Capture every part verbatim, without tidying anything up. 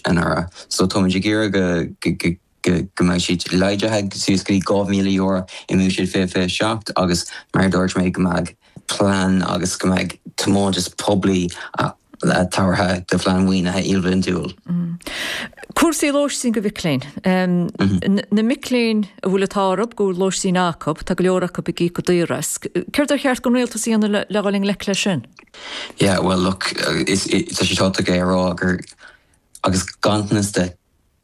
anuraidh. So táimid ag iarraidh go go go go mbeidh siad laghdaithe suas go dtí dhá mhíle euro i mBuiséad fiche fiche seacht agus mar a dúirt mé go mbeidh plean agus go mbeidh tiomantas poiblí tabhartha do phlean maoinithe ilbhliantúil. Cúrsaí lóistín do mhic léinn. Na mic léinn a bhfuil an t-ádh orthu go bhfuil lóistín acu, tá go leor acu ag íoc go daor as. Céard ar cheart don rialtas a dhéanamh le dhul i ngleic leis sin? Yeah, well look, is tá sé tábhachtach é a rá gur agus ganntanas de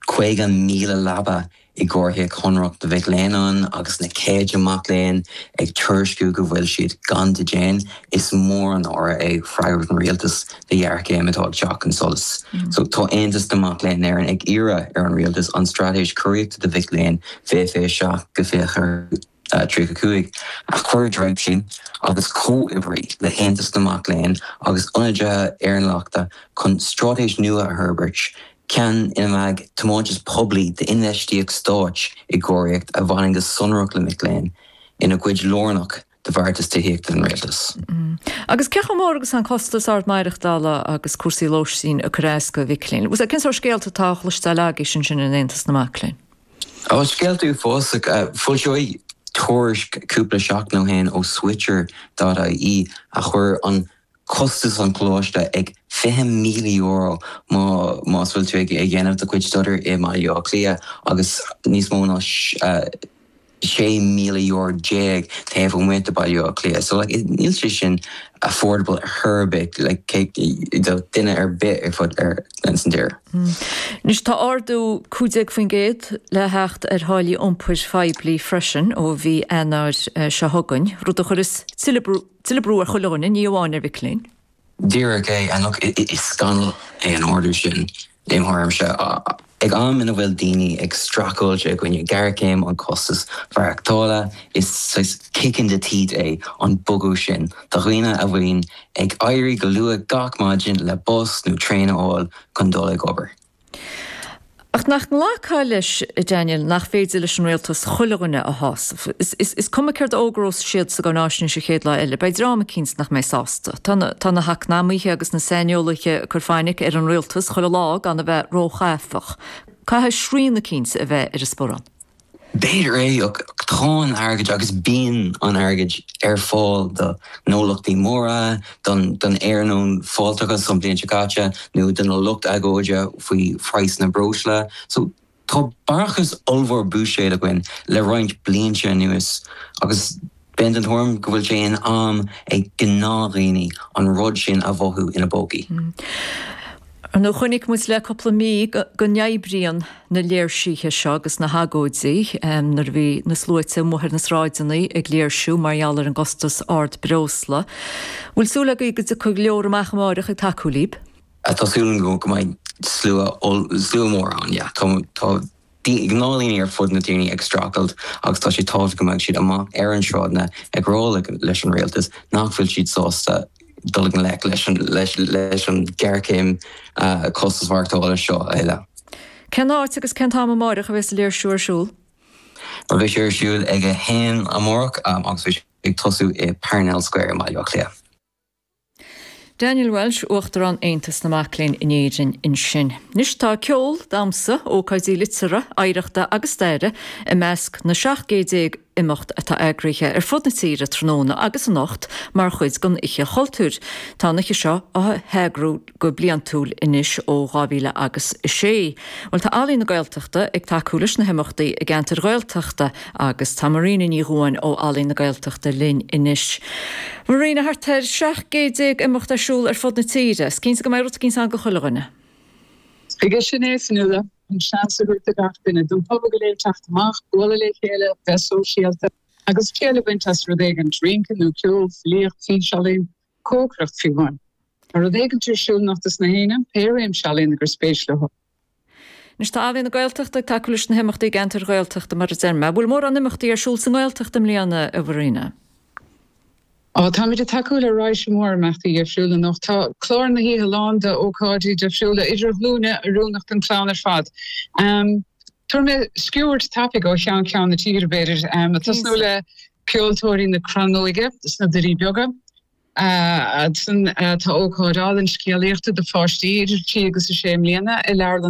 caoga míle leaba i gcóiríocht shonrach do mhic léinn ann agus na céadta mac léinn ag tuairisciú go bhfuil siad gan dídean, is mór an náire é freagairt an rialtais do ghéarchéim atá ag teacht chun solais. So tá Aontas na Mac Léinn Éireann ag iarraidh ar an rialtas an straitéis cóiríochta do mhic léinn fiche fiche seacht go fiche tríocha cúig a chur i dtreis agus comhoibriú le hAontas na Mac Léinn agus ionadaithe earnála chun straitéis nua a fhorbairt, ceann ina mbeidh tiomantas poiblí d'infheistíocht stáit i gcóiríocht a bhaineann go sonrach le mic léinn ina gcuid lárnach de bheartas tithíochta an rialtais. Agus cé chomh mór agus an costas ard maireachtála agus cúrsaí lóistín ag cur as do mhic léinn? Cén sórt scéalta atá á chloisteáil agaibh ansin in Aontas na Mac Léinn? Ó scéalta uafásacha foilsíodh tuairisc cúpla seachtain ó shin ó Switcher dot ie a chuir an costas an choláiste ag fiche míle euro má más bhfuil tú ag dhéanamh do chuid staidéir i mBaile Átha Cliath agus níos mó ná sé míle euro déag taobh amuigh de Baile Átha Cliath. So like, níl sé sin affordable ar ar bith like, do duine ar bith ar fud ar san tír. Anois tá ardú cúig déag faoin gcéad le theacht ar tháillí iompair phoiblí freisin ó mhí Eanáir seo chugainn, rud a chuirfeas tuilleadh brú ar chuile dhuine, ní amháin ar mhic léinn. Díreach é and look, is scannal é an ardú sin im thuairimse. Ag am ina bhfuil daoine ag streachailt i gcoinne géarchéim an costas maireachtála, is saghas kick in the teeth é an bogadh sin do dhaoine a bhíonn ag éirí go luath gach maidin le bus nó traein a fháil chun dul ag obair. Ach nach nglacfá leis, Daniel, nach féidir leis an rialtas chuile dhuine a shásamh. Is, is, is cuma céard a fhógrós siad sa gcáinaisnéis an chéad lá eile, beidh dream eicínt nach mbeidh sásta. Tá na, tá na heacnamaithe agus na saineolaithe ag cur fainic ar an rialtas chuile lá gan a bheith róchaifeach. Caithfidh srian eicínt a bheith ar an sparán. B'fhéidir é ach tá an airgead agus bíonn an airgead ar fáil do ghnólachtaí móra, don don iarnóin fáilteachas an bhliain seo caite nó don lucht agóide faoi phraghas na breosla. So tá barrachas ollmhór buiséid againn le roinnt blianta anuas agus bím den tuairim go bhfuil sé in am ag gnáthdhaoine an rud sin a mhothú ina bpócaí. Nó chonaic muid le cúpla mí go n-oibríonn na léirsithe seo agus na hagóidí nuair a bhí na sluaite amuigh ar na sráideanna ag léirsiú mar gheall ar an gcostas ard breosla. Bhfuil súil agaibh go dtiocfaidh go leor amach amárach ag tacú libh? Tá súil go go mbeidh slua slua mór ann, yeah. Tá tá gnáthdhaoine ar fud na tíre ag streachailt agus tá sé tábhachtach go mbeidh siad amach ar an sráideanna ag rá leis an rialtas nach bhfuil siad sásta dul i ngleic leis an leis leis an géarchéim costas maireachtála seo eile. Cén áit agus cén t-am amárach a bheas an léirsiú ar siúl? Beidh sé ar siúl ag a haon amárach agus beidh sé ag tosú i Parnell Square i mBaile Átha Cliath. Daniel Walsh, Uachtarán Aontas na Mac Léinn in Éirinn ansin. Anois tá ceol, damhsa, ócáidí liteartha, oidhreachta agus staire i measc na seacht gcéad déag imeacht atá eagraithe ar fud na tíre tráthnóna agus anocht mar chuid den Oíche Chultúir. Tá an oíche seo á heagrú go bliantúil anois ó dhá mhíle agus a sé. Bhuel tá Ealaín na Gaeltachta ag tacú leis na himeachtaí i gceantair Ghaeltachta agus tá Marina Ní Dhubháin ó Ealaín na Gaeltachta linn anois. Marina thart ar seacht gcéad déag imeacht ar siúl ar fud na tíre. Is cinnte go mbeidh rud éicint ann do chuile dhuine. Chuige sin é Fionnuala, an seans a thabhairt do gach duine, don phobal go léir teacht amach, bualadh le chéile, bheith sóisialta agus triail a bhaint as rud éigin, rince nó ceol, filíocht, físealaín, cócaireacht fiú amháin. Tá rud éigin ar siúl anocht dos na héinne, pé réimse ealaíona gur spéis leo. Anois tá Ealaín na Gaeltachta ag tacú leis na himeachtaí i gceantair Ghaeltachta mar a deir mé. Bhfuil mórán imeachtaí ar siúl sa nGaeltacht i mbliana, a Mharina? Á, táimid ag tacú le raidhse mór imeachtaí difriúla anocht. Tá clár na hoíche lán d'ócáidí difriúla idirghlúine oiriúnach don chlann ar fad. Tabharfaidh mé sciuird tapaidh ó cheann ceann na tíre, b'fhéidir. Ag tosnú le Ceoltóirí na Crannóige sna Doirí Beaga. Ansan tá ócáid álainn scéalaíochta do pháistí idir trí agus a sé mbliana i Leabharlann